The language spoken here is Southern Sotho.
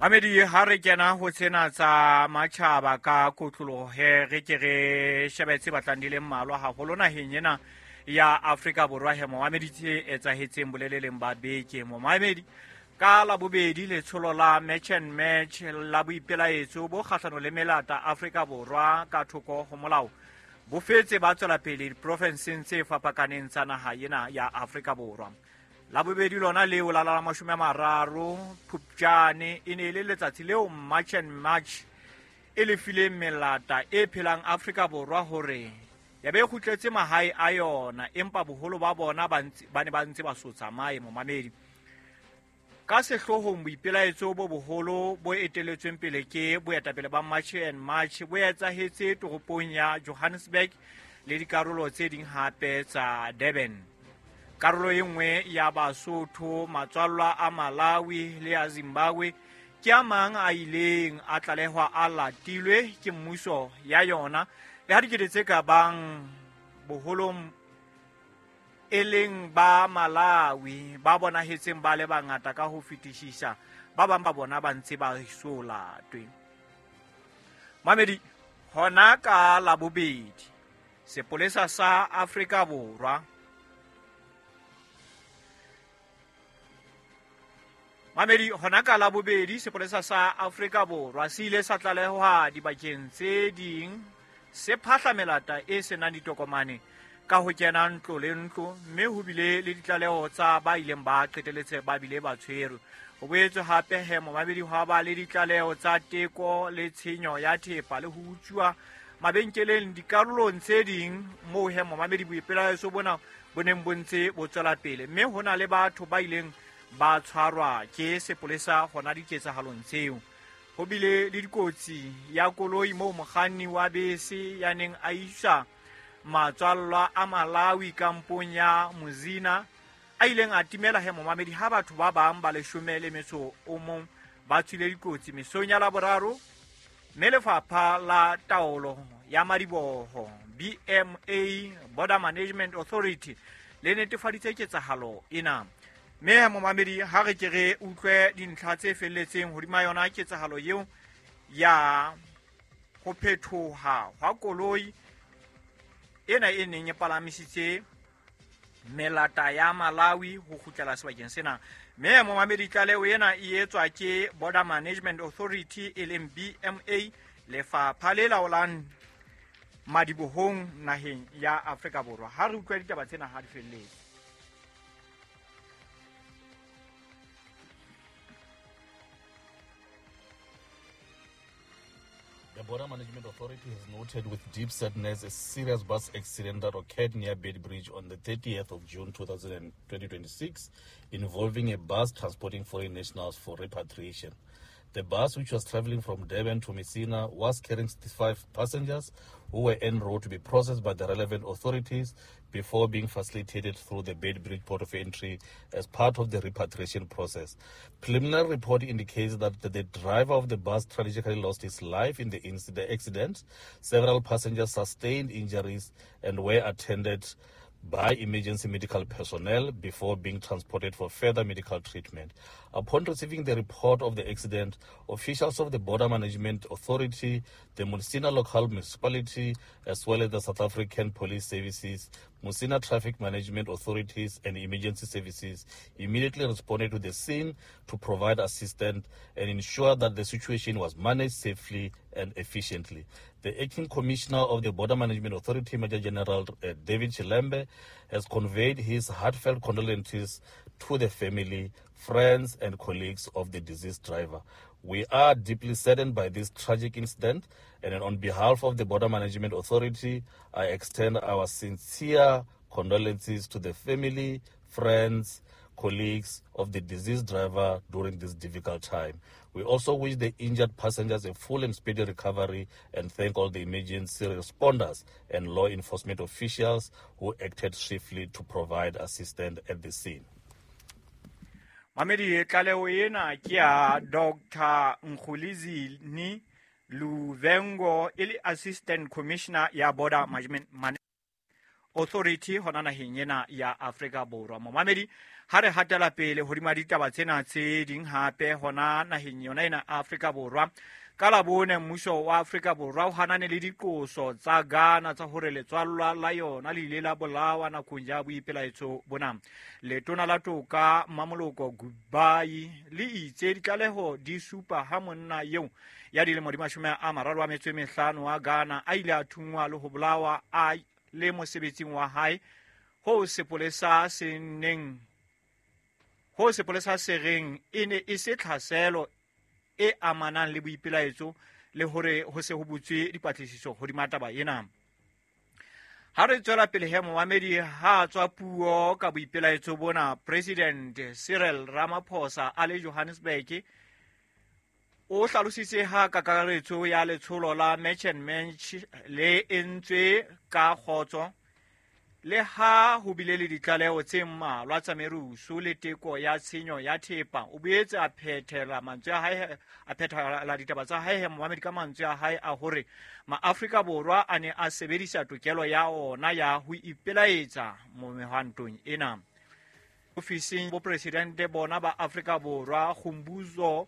Mamedi, ha re kena ho tsena tsa matjhaba ka kotlolohe, re ke re shebe tse batlang di le mmalwa haholo naheng ena ya Afrika Borwa. He momamedi, tse etsahetseng boleleleng ba beke, momamedi, ka Labobedi letsholo la Match and Match la boipelaetso bo kgahlano le melata Afrika Borwa ka thoko ho molao bo fetse ba tswela pele diprofenseng tse fapakaneng tsa naha ena ya Afrika Borwa. Labobedi lona leo la 30 Phupjane e ne e le letsatsi leo March and March e lefileng melata e phelang Afrika Borwa hore ya be e kgutletse mahae a yona, empa boholo ba bona ba ne ba ntse ba so tsamaye. Momamedi, ka sehloohong boipelaetso bo boholo bo eteletsweng pele ke boetapele ba March and March bo etsahetse toropong ya Johannesburg le dikarolo tse ding hape tsa Durban. Karolo e nngwe ya Basotho, matswallwa a Malawi le ya Zimbabwe ke a mang a ileng a tlalehwa a latilwe ke mmuso ya yona, le ha dikete tse ka bang boholong e leng ba Malawi ba bonahetseng ba le bangata ka ho fetisisa, ba bang ba bona ba ntse ba so latwe. Mamedi, hona ka Labobedi sepolesa sa Afrika Borwa, mamedi, hona ka Labobedi sepolesa sa Afrika Borwa se ile sa tlalehwa dibakeng tse ding se phahla melata e senang ditokomane ka ho kena ntlo le ntlo, mme ho bile le ditlaleho tsa ba ileng ba qeteletse ba bile ba tshwerwe. Ho boetswe hape he, momamedi, hwa ba le ditlaleho tsa teko le tshenyo ya thepa le ho utswa mabenkeleng dikarolong tse ding moo he, momamedi, boipelaetso bona bo neng bo ntse bo tswela pele, mme ho na le batho ba ileng ba tshwarwa ke sepolesa hona diketsahalong tseo. Ho bile le dikotsi ya koloi moo mokganni wa bese ya neng a isa matswallwa a Malawi kampong ya Mozina a ileng a timela he, momamedi, ha batho ba bang ba 11 ba tswile dikotsi mesong ya Laboraro, mme lefapha la taolo ya madiboho, BMA, Border Management Authority, le netefaditse ketsahalo ena. Mme momamedi, ha re ke re utlwe dintlha tse felletseng hodima yona ketsahalo eo ya ho phethoha hwa koloi ena e neng e palamisitse melata ya Malawi ho kgutlela sebakeng sena. Mme momamedi, tlaleho ena e etswa ke Border Management Authority, e leng BMA, lefapha le laolang madibohong naheng ya Afrika Borwa. Ha re utlwa ditaba tsena ha di felletse. The Border Management Authority has noted with deep sadness a serious bus accident that occurred near Beitbridge on the 30th of June 2026, involving a bus transporting foreign nationals for repatriation. The bus, which was traveling from Durban to Messina, was carrying 65 passengers who were en route to be processed by the relevant authorities before being facilitated through the Beitbridge port of entry as part of the repatriation process. Preliminary report indicates that the driver of the bus tragically lost his life in the accident. Several passengers sustained injuries and were attended by emergency medical personnel before being transported for further medical treatment. Upon receiving the report of the accident, officials of the Border Management Authority, the Musina Local Municipality, as well as the South African Police Services, Musina Traffic Management Authorities, and Emergency Services immediately responded to the scene to provide assistance and ensure that the situation was managed safely and efficiently. The acting commissioner of the Border Management Authority, Major General David Chilembe, has conveyed his heartfelt condolences to the family, friends, and colleagues of the deceased driver. We are deeply saddened by this tragic incident, and on behalf of the Border Management Authority, I extend our sincere condolences to the family, friends, colleagues of the deceased driver during this difficult time. We also wish the injured passengers a full and speedy recovery and thank all the emergency responders and law enforcement officials who acted swiftly to provide assistance at the scene. Mamedi, tlaleho ena ke ya Dr Nkhulizini Luvengo, e le assistant commissioner ya Border Management Authority hona naheng ena ya Afrika Borwa. Momamedi, Ha re hatela pele hodima ditaba tsena tse ding hape hona naheng yona ena Afrika Borwa, ka Labone mmuso wa Afrika Borwa o hanane le diqoso tsa Ghana tsa hore letswallwa la yona le ile la bolawa nakong ya boipelaetso bona. Letona la Toka Mmamoloko Kubayi le itse ditlaleho di supa ha monna eo ya dilemo di 35 wa Ghana a ile a thunngwa le ho bolawa a le mosebetsing wa hae ho sepolesa se neng ho sepolesa se reng e ne e se tlhaselo e amanang le boipelaetso le hore ho se ho butswe dipatlisiso hodima taba ena. Ha re tswela pele he momamedi, ha tswa puo ka boipelaetso bona, President Cyril Ramaphosa a le Johannesburg o hlalositse ha kakaretso ya letsholo la March and March le entswe ka kgotso, le ha ho bile le ditlaleho tse mmalwa tsa merusu le teko ya tshenyo ya thepa. O boetse a phethela mantswe a hae, a phethela ditaba tsa hae momamedi ka mantswe a hae a hore maAfrika Borwa a ne a sebedisa tokelo ya ona ya ho ipelaetsa mehwantong ena. Ofising bopresidente bona ba Afrika Borwa, Khumbuzo